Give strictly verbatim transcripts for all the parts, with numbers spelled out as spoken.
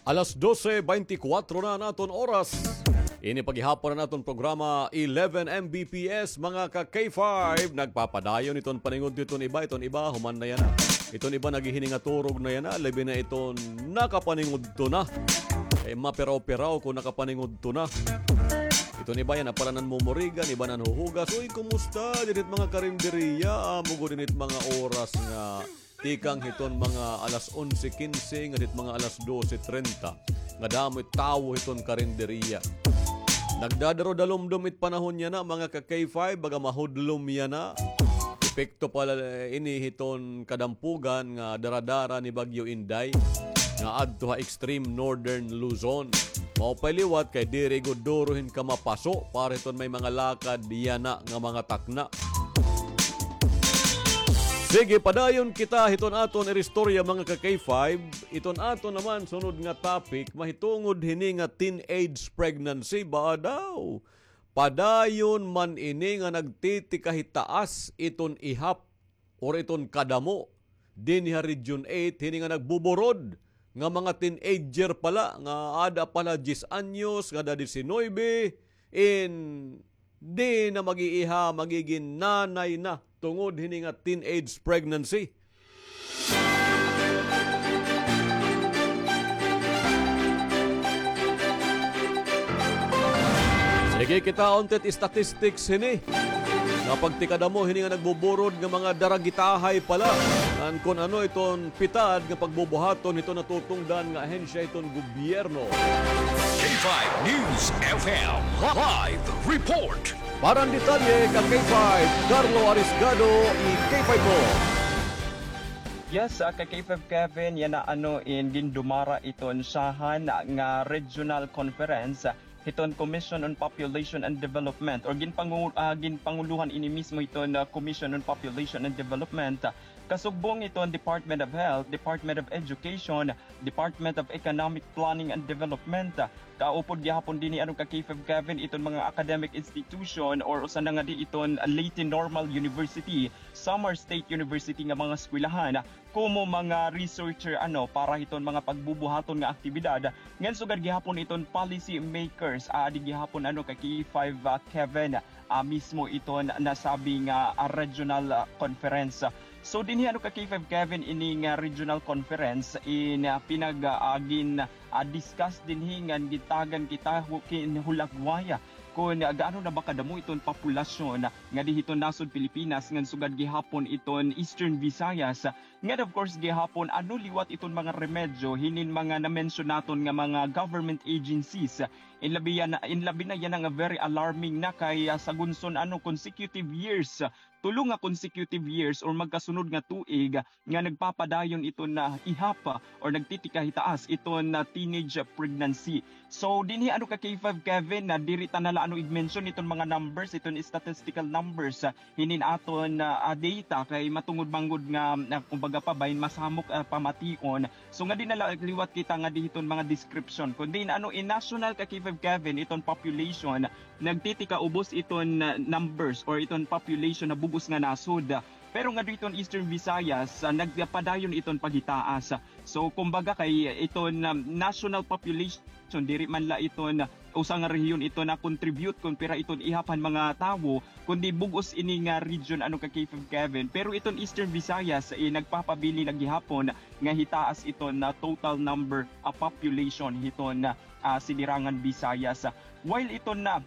Alas dose beintikwatro na an aton oras. Ini pa gihapon an aton programa, eleven M B P S, mga ka K five. Nagpapadayon iton paningudto iton iba, iton iba, human na yana. Iton iba naghihiningaturog na yana, labi na iton nakapaningudto na. Eh, mapiraw-piraw kon nakapaningudto na. Iton iba yana pala nanmumurigan, iba nanhuhugas. Uy, kumusta dinhi it mga karinderiya? Amo gud ini it mga oras nga tikang hiton mga alas onse kinse ngadto hit mga alas dose trenta. Nga damo it tawo hiton karinderiya. Nagdadaro-dalumdom it panahon yana, mga ka K five, baga mahudlom yana. Epekto pala ini hiton kadampugan nga dara-dara ni Bagyo Inday nga adto ha extreme northern Luzon. Maupay liwat kay diri gud duro hin kamapaso para hiton may mga lakad yana nga mga takna. Sige, padayon kita hiton aton iristorya, mga ka K five. Iton aton naman sunod nga topic, mahitungod hini nga teenage pregnancy ba daw. Padayon man ini nga nagtitikahitaas iton ihap or iton kadamo dinhi ha Region eight, hini nga nagbuburod nga mga teenager pala, nga ada pala diyes anyos, nga ada diecinuebe, in di na mag-iiha, magigin nanay na tungod hini nga teenage pregnancy. Sige, kitaon ta it statistics hini. Nga pagtikadamo hini nga nagbuburod nga mga daragitahay pala. Ngan kon ano iton pitad nga pagbubuhaton hiton natutungdan nga ahensya hiton gobyerno. K five News F M live report. Para han detalye, ka K five, Carlo Arisgado, i K five mo. Yes, ah, ka K five Kevin, yana ano in gindumara iton syahan nga regional conference, ah, hiton Commission on Population and Development, or ginpangu-, ah, ginpangulohan ini mismo hiton, ah, Commission on Population and Development, ah, kasugbong hiton Department of Health, Department of Education, Department of Economic Planning and Development, ah, kaupod gihapon dinhi ano ka K five Kevin iton mga academic institution or usa na ngadi iton Leyte Normal University, Samar State University nga mga eskwelahan, ah, komo mga researcher ano para hiton mga pagbubuhaton nga aktibidad, ngan sugad gihapon iton policy makers, ah, adi gihapon ano ka K five, ah, Kevin, ah, mismo iton nasabi nga, ah, regional, ah, conference. So dinhi ano ka K five Kevin ini nga regional conference in, ah, pinag, ah, gin, ah, discuss dinhi ngan gitagan kita hu-, kin hulagway kon, ah, gaano na ba kadamo iton populasyon ngadi hiton nasod Pilipinas ngan sugad gihapon iton Eastern Visayas. Ngan of course gihapon, ano liwat iton mga remedyo hinin mga na-mention naton nga mga government agencies. In labi yana, in labi na yana nga very alarming na kay, ah, sa gunson ano consecutive years, tulo nga consecutive years or magkasunod nga tuig nga nagpapadayon iton na ihap, ah, or nagtitikahitaas iton na teenage pregnancy. So dinhi ano ka K five Kevin, na diri ta na la ano ig-mention iton mga numbers, iton statistical numbers, ah, hinin aton, ah, ah, data kay matungod man gud nga, ah, kumbaga pa bahin masamok, ah, pamation. So ngadi na la liwat kita ngadi hiton mga description. Kundi ano in national ka K five Kevin iton population, nagtitika ubos iton, ah, numbers or iton population na bug-os nga nasod. Pero ngadi hiton Eastern Visayas, ah, nagpadayon iton paghitaas. So kumbaga kay iton, ah, national population, diri man la iton usa nga rehiyon iton na-contribute kon pira iton ihap han mga tawo, kundi bug-os ini nga region ano ka K five Kevin. Pero iton Eastern Visayas, eh, nagpapabilin na gihapon nga hitaas iton na total number, ah, population hiton, ah, Sidirangan Visayas. While iton na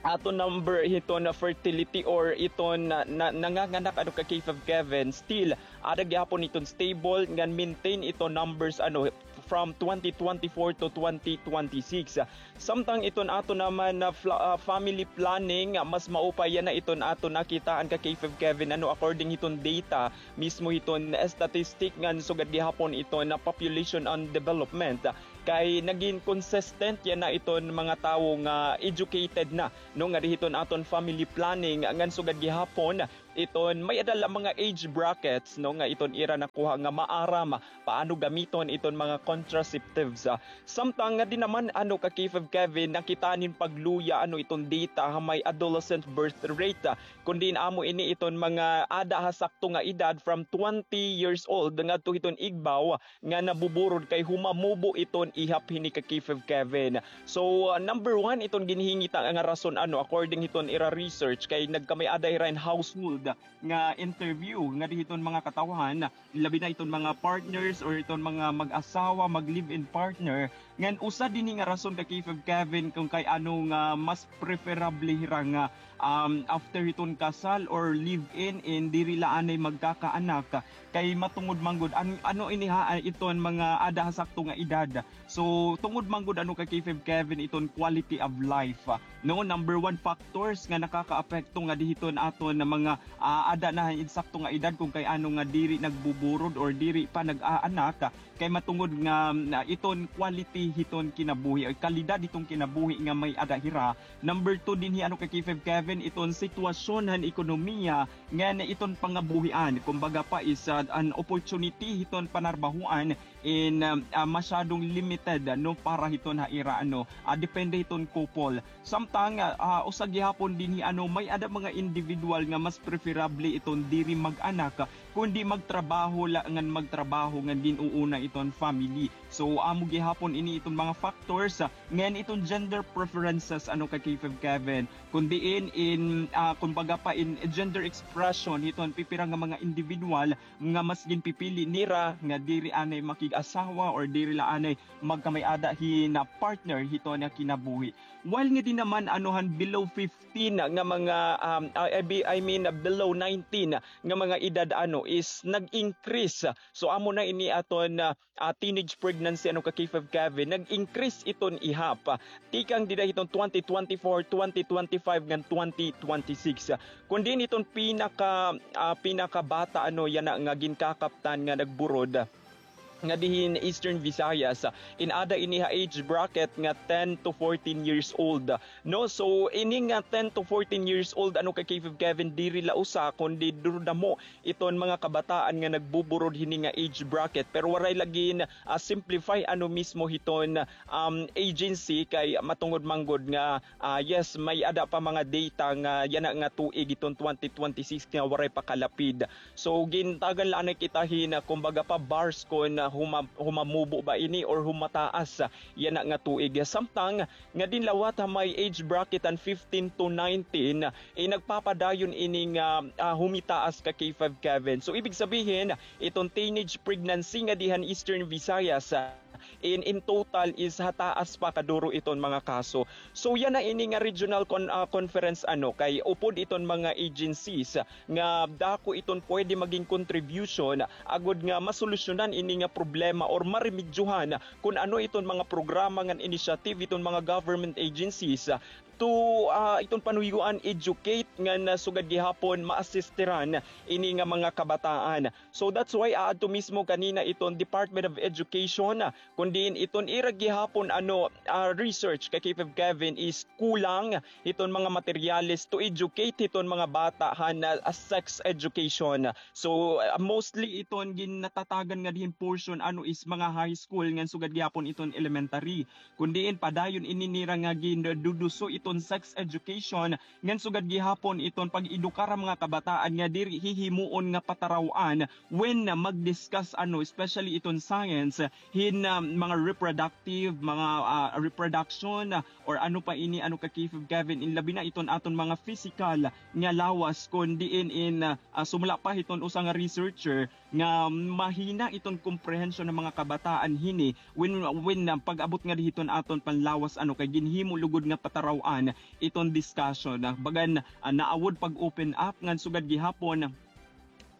aton number hiton na fertility or iton na, na, nanganganak ano ka K five Kevin, still ada gihapon iton stable ngan maintain iton numbers ano from twenty twenty-four to twenty twenty-six. Samtang iton aton naman na fla-, ah, family planning, ah, mas maupay yana iton aton nakitaan ka K five Kevin ano according hiton data mismo hiton statistic ngan sugad gihapon iton na population and development. Kay nagin consistent yana iton mga tawo nga educated na, no, ngadi hiton aton family planning ngan sugad gihapon iton may-ada la mga age brackets, no, nga iton ira nakuha nga maaram paano gamiton iton mga contraceptives. Ah, samtang nga di naman ano ka K five Kevin, nakita nin pagluya ano iton data ha may adolescent birth rate, ah, kundi amo ini iton mga ada ha sakto nga edad from twenty years old ngadto hiton igbaw nga nabuburod kay humamubo iton ihap hini ka K five Kevin. So, uh, number one, iton ginhingita nga rason, ano, according hiton ira research, kay nagkamay-ada hira hin household nga interview nga di hiton mga katawhan, labi na iton mga partners or iton mga mag-asawa, mag-live-in partner, ngan usa dinhi nga rason ka K five Kevin kung kay ano nga mas preferable hira nga, um, after hiton kasal or live-in, in diri la anay magkakaanak. Kay matungod man gud, an-, ano ini ha, ah, iton mga ada ha sakto nga edad. So, tungod man gud ano ka K five Kevin iton quality of life, ah, no, number one factors nga nakakaapekto nga di hiton aton na mga, ah, ada na ha insakto nga edad kung kay ano nga diri nagbuburod or diri pa nag-aanak, ah, kay matungod nga, ah, iton quality hiton kinabuhi o kalidad hiton kinabuhi nga may ada hira. Number two dinhi ano ka K five Kevin iton sitwasyon han ekonomiya ngan iton pangabuhian. Kumbaga pa is, ah, an opportunity hiton panarbahoan in, um, ah, masyadong limited, no, para hiton ha ira, ano, ah, depende hiton couple. Samtang, ah, ah, usa gihapon dinhi, ano, may-ada mga individual nga mas preferable iton diri mag-anak, kundi magtrabaho la ngan magtrabaho ngan gin-uuna iton family. So, amo gihapon ini iton mga factors, ah, ngan iton gender preferences, ano, ka K five Kevin. Kundi in, in, ah, kumbaga pa in gender expression hiton pipira nga mga individual nga mas ginpipili nira nga diri anay makig-asawa or diri la anay magkamay-ada hin partner hiton nga kinabuhi. While nga di naman ano han below fifteen nga mga, um, I, I be-, I mean, below nineteen nga mga edad ano is nag-increase. So amo na ini aton, ah, ah, teenage pregnancy ano ka K five Kevin, nag-increase iton ihap. Tikang dida hiton twenty twenty-four, twenty twenty-five ngan twenty twenty-six. Kundi niton pinaka, ah, pinakabata ano yana nga ginkakaptan nga nagburod nga dihin Eastern Visayas, ah, in-ada ini ha age bracket nga ten to fourteen years old. No, so ini nga ten to fourteen years old ano ka K five Kevin, diri la usa kundi duro damo iton mga kabataan nga nagbuburod hini nga age bracket. Pero waray lagi na, ah, simplify ano mismo hiton, um, agency kay matungod man gud nga, ah, yes, may-ada pa mga data nga yana nga tuig iton twenty twenty-six nga waray pa kalapid. So gintagan la anay kita hin, ah, kumbaga pa bars kon, ah, huma-, humamubo ba ini or humataas, ah, yana nga tuig. Samtang nga dinlawat ha may age bracket an fifteen to nineteen, eh, nagpapadayon ini nga, ah, humitaas ka K five Kevin. So ibig sabihin, iton teenage pregnancy nga dihan Eastern Visayas, ah, in, in total is hataas pa kaduro iton mga kaso. So yana ini nga regional con-, ah, conference ano kay upod iton mga agencies, ah, nga dako iton pwede maging contribution agod nga masolusyonan ini nga problema or maremedyohan kun ano iton mga programa ngan initiative iton mga government agencies, ah, to, ah, iton panuyuan educate ngan, ah, sugad gihapon ma-assisteran ini nga mga kabataan. So that's why aadto mismo kanina iton Department of Education, ah, kun diin iton ira gihapon ano, ah, research ka K five Kevin is kulang hiton mga materyales to educate hiton mga bata han, ah, sex education. So, ah, mostly iton ginatatagan nga dihin portion ano is mga high school ngan sugad gihapon iton elementary. Kun diin padayon ini nira nga ginduduso iton sex education ngan sugad gihapon iton pag-edukar ha mga kabataan nga diri hihimuon nga pataraw-an when mag-discuss ano, especially iton science, hin, ah, mga reproductive, mga, ah, reproduction, ah, or ano pa ini, ano ka K five Kevin, in labi na iton aton mga physical nga lawas, kun diin in, ah, ah, sumala pa hiton usa nga researcher nga mahina iton comprehension han mga kabataan hini when, when, ah, pag-abot nga dihiton aton panlawas, ano, kay ginhimo lugod nga pataraw-an iton discussion, ah, bagan, ah, naawod pag-open up ngan sugad gihapon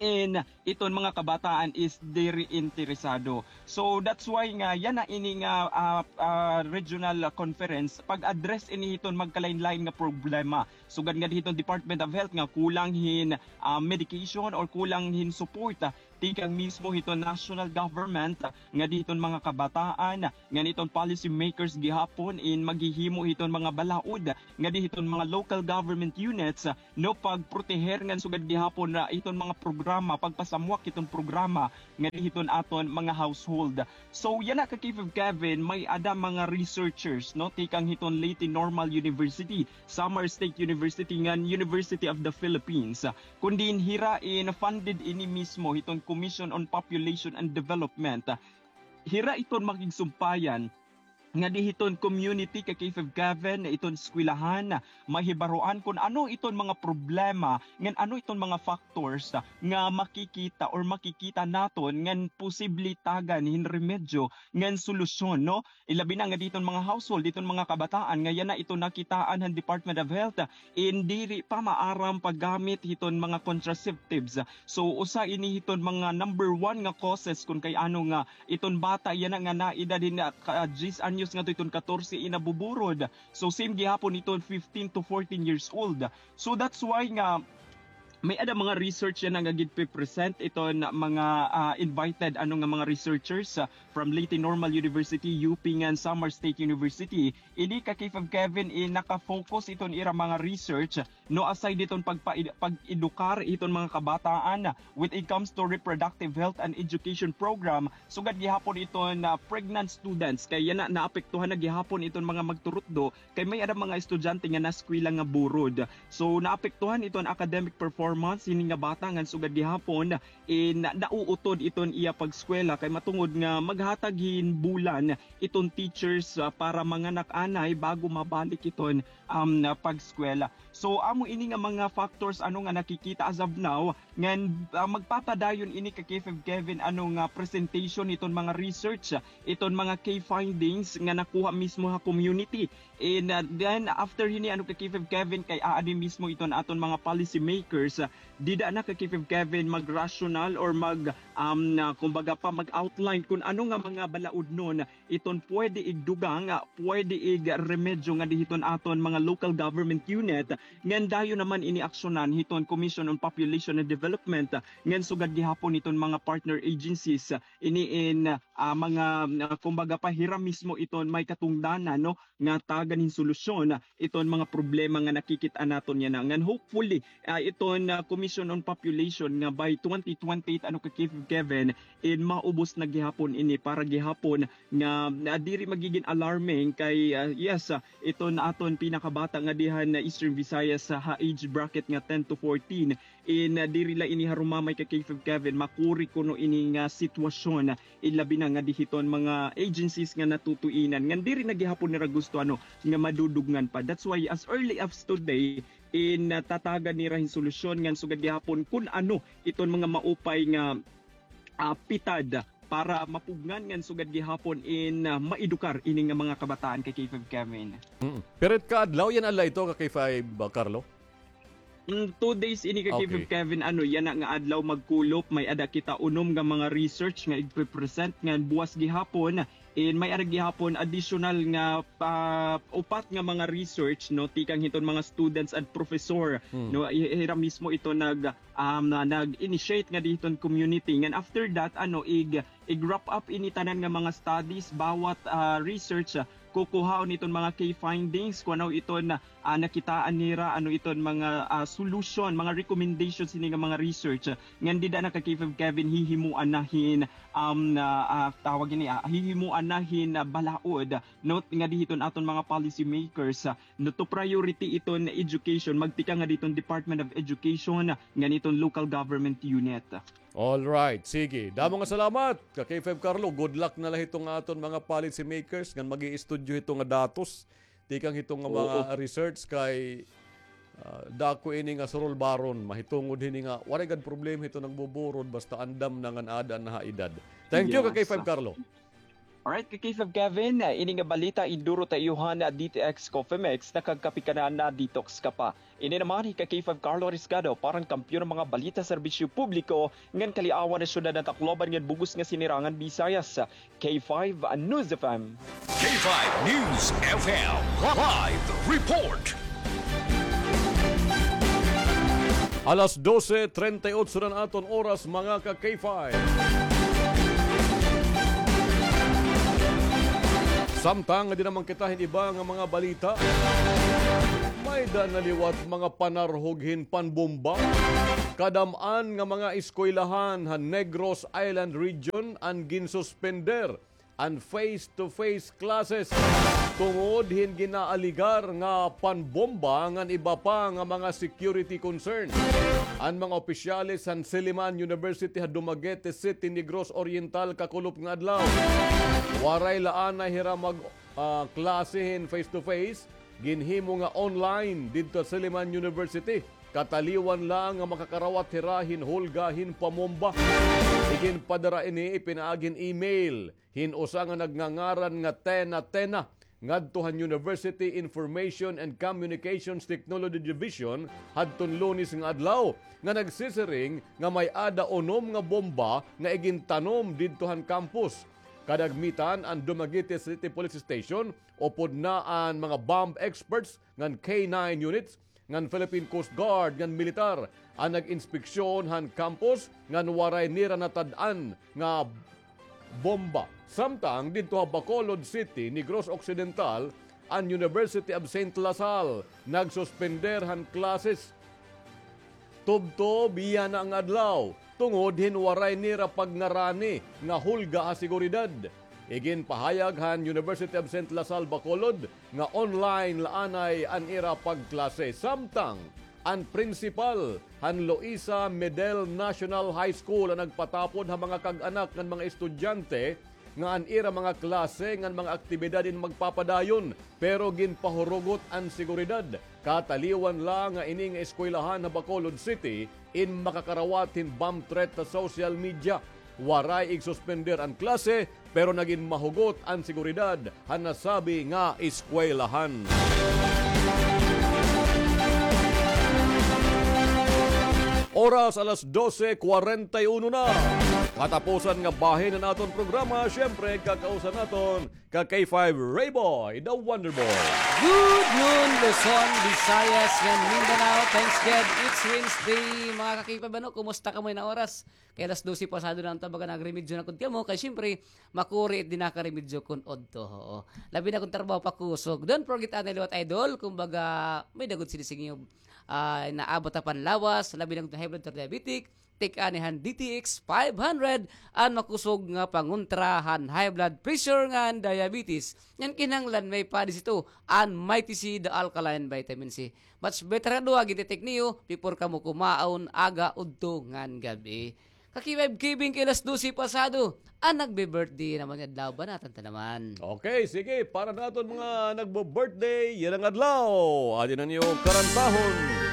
in iton mga kabataan is diri interesado. So that's why nga yana ini nga, ah, ah, regional conference pag-address ini hiton magkalain-lain nga problema. Sugad nga dihiton Department of Health nga kulang hin, ah, medication or kulang hin support, ah, tikang mismo hiton national government, ngadi hiton mga kabataan, ngan hiton policy makers gihapon in maghihimo hiton mga balaod, ngadi hiton mga local government units, no, pagproteher ngan sugad gihapon na hiton mga programa, pagpasamwak hiton programa, ngadi hiton aton mga household. So, yana ka K five Kevin, may-ada mga researchers, no, tikang hiton Leyte Normal University, Samar State University, ngan University of the Philippines. Kun diin hira in funded ini mismo hiton Commission on Population and Development. Hira iton makigsumpayan ngadi hiton community ka K five Kevin, iton eskwelahan, mahibaroan kun ano iton mga problema, ngan ano iton mga factors nga makikita or makikita naton ngan posible tagan hin remedyo ngan solusyon, no? Ilabi na ngadi hiton mga household, hiton mga kabataan, nga yana iton nakitaan han Department of Health, in diri pa maaram paggamit hiton mga contraceptives. So, usa ini hiton mga number one nga causes kun kay ano nga iton bata yana nga naedad hin, ah, ka-, diyes anyos ngadto hiton katorse in nabuburod. So, same gihapon iton fifteen to fourteen years old. So, that's why nga may-ada mga research yana nga ginpe-present iton mga, ah, invited, ano nga mga researchers, ah, from Leyte Normal University, U P, ngan Samar State University. Ini ka K five Kevin, eh, naka-focus iton ira mga research, no, aside hiton pagpa-, pag-edukar hiton mga kabataan when it comes to reproductive health and education program, sugad gihapon iton, ah, pregnant students. Kay yana, naapektuhan na gihapon iton mga magturutdo, kay may-ada mga estudyante nga naeskwela nga burod. So, naapektuhan iton academic performance hini nga bata ngan sugad gihapon, eh, na-, nauutod iton iya pag-eskwela kay matungod nga maghatag hin bulan iton teachers, ah, para manganak anay bago mabalik iton, um, pag-eskwela. So, amo ini nga mga factors, ano, nga nakikita as of now, ngan, ah, magpapadayon ini ka K five Kevin, ano, nga presentation iton mga research, iton mga key findings nga nakuha mismo ha community. And, ah, then, after hini, ano, ka K five Kevin, kay aadi mismo iton aton mga policy makers, ah, dida na ka K five Kevin mag-rational or mag, um, na, kumbaga pa, mag-outline kun ano nga mga balaod nun iton pwede igdugang, ah, pwede igremedyo ngadi hiton aton mga local government unit, ngan dayon naman ini aksyonan hiton Commission on Population and Development, ah, ngan sugad gihapon hiton mga partner agencies, ah, ini in, ah, mga, ah, kumbaga pa, hira mismo iton may katungdanan, no, nga tagan hin solusyon, ah, iton mga problema nga nakikit-an naton yana. Ngan hopefully, ah, iton, ah, Commission on Population nga by twenty twenty-eight, ano, ka Kev-, Kevin, in maubos na gihapon ini para gihapon nga, ah, diri magigin alarming kay, ah, yes, ah, iton aton pinakabata ngadi han Eastern Visayas, ah, ha age bracket nga ten to fourteen, in, ah, diri la ini harumamay ka Kev-, Kevin, makuri kuno ini nga sitwasyon, ah, ilabi na ngadi hiton mga agencies nga natutuinan ngan diri na gihapon nira gusto, ano, nga madudugngan pa. That's why as early as today, in, ah, tatagan nira hin solusyon ngan sugad gihapon kun ano iton mga maupay nga, ah, pitad para mapugngan ngan sugad gihapon in, ah, maedukar ini nga mga kabataan ka Kev-, Kevin. Mm. Pira ka adlaw yana la ito ka Kev-, ah, Carlo? Mm, two days ini ka Kev-, Okay. Kevin, ano, yana nga adlaw magkulop, may-ada kita unom nga mga research nga igpe-present ngan buwas gihapon, in may-ada gihapon additional nga pa-, upat nga mga research, no, tikang hiton mga students and professor, Hmm. no, hi-, hira mismo ito nag, um, na, nag-initiate ngadi hiton community. Ngan after that, ano, ig-, ig-wrap up ini tanan nga mga studies, bawat, ah, research, ah, kukuhaon iton mga key findings, kun ano iton, ah, nakitaan nira, ano iton mga, ah, solution, mga recommendations hini nga mga research, ah, ngan dida na ka Kev-, Kevin, hihimuan na hin, um, na, ah, tawag ini, ah, hihimuan na hin, ah, balaod, no, ngadi hiton aton mga policy makers, ah, no, to priority iton education, magtikang ngadi hiton Department of Education, ah, ngan hiton local government unit. All right, sige. Damo nga salamat ka Kev-, Carlo. Good luck na la hiton aton mga policy makers ngan mag-iistudyo hito nga datos tikang hito nga mga Oo. research kay, ah, dako ini nga surulbaron, mahitungod hini nga waray gad problema hito nagbuburod basta andam na ngan aada na ha edad. Thank you, ka Yes. Kev-, Carlo. Alright, ka Kev-, Kevin, ah, ini nga balita iduro ta iyo han, ah, D T X Coffee Mix, nakagkape ka na, na-detox ka pa. Ini naman hi ka Kev-, Carlo Riscado para han kampiyon nga mga balita, serbisyo publiko ngan kaliawan han syudad han Tacloban ngan bug-os nga Sinirangan Visayas. K five News F M. K five News F M live report. Alas dose treinta y ocho na an aton oras, mga ka-K five. Samtang diri naman kita hin iba nga mga balita, may-ada na liwat mga panarhog hin panbomba. Kadam-an nga mga eskwelahan han Negros Island Region an ginsuspender an face-to-face classes tungod hin ginaaligar nga panbomba ngan iba pa nga mga security concern. An mga opisyales han Silliman University ha Dumaguete City, Negros Oriental, kakulop nga adlaw, waray la anay hira mag, ah, klase hin face-to-face, ginhimo nga online didto ha Silliman University. Kataliwan la nga makakarawat hira hin hulga hin pamomba. Iginpadara ini ipinaagi hin email hin usa nga nagngangaran nga Tena Tena ngadto han University Information and Communications Technology Division hadton Lunes nga adlaw, nga nagsisiring nga may-ada unom nga bomba nga igintanom didto han campus. Kadagmitan, an Dumaguete City Police Station, upod na an mga bomb experts ngan K nine units ngan Philippine Coast Guard ngan militar an nag-inspeksyon han campus ngan waray nira natad-an nga bomba. Samtang didto ha Bacolod City, Negros Occidental, an University of Saint La Salle nagsuspender han classes tubtob yana nga adlaw tungod hin waray nira pagngarani nga hulga ha seguridad. Iginpahayag han University of Saint La Salle Bacolod nga online la anay an ira pagklase, samtang an principal han Luisa Medel National High School an nagpatapod ha mga kag-anak ngan mga estudyante nga an ira mga klase ngan mga aktibidad in magpapadayon, pero ginpahurugot an seguridad. Kataliwan la nga ini nga eskwelahan ha Bacolod City in makakarawat hin bomb threat ha social media. Waray igsuspender an klase, pero nagin mahugot an seguridad han nasabi nga eskwelahan. Oras, alas dose kwarenta y uno na. Katapusan nga bahin han aton programa, siyempre, kakausan naton ka K five Rayboy, the Wonder Boy. Good noon, Luzon, Visayas, ngan Mindanao. Thanks God, it's Wednesday. Mga ka-K five, ano, kumusta kamo yana nga oras? Kay alas dose pasado na an tabaga, nagremedyo na gud kamo. Kay siyempre, makuri it dinha karemedyo kon udto. Oo. Labi na kon trabaho pa kusog. Don't forget, anay liwat, idol. Kumbaga, may-ada gud sini sa inyo, ah, naabot ha panlawas. Labi na kon high blood or diabetic. Take anay han D T X five hundred, an makusog nga pangontra han high blood pressure ngan diabetes. Ngan kinahanglan may pa-D C two, an Mighty C, the alkaline vitamin C. Much better nga duha, gin-take niyo before kamo kumaon, aga, udto, ngan gab-i. Ka-K five, kibing kay alas dose pasado, an nagbe-birthday naman nga adlaw, banatan ta naman. Okay, sige, para naton mga nagbe-birthday yana nga adlaw, adi na niyo karantahon.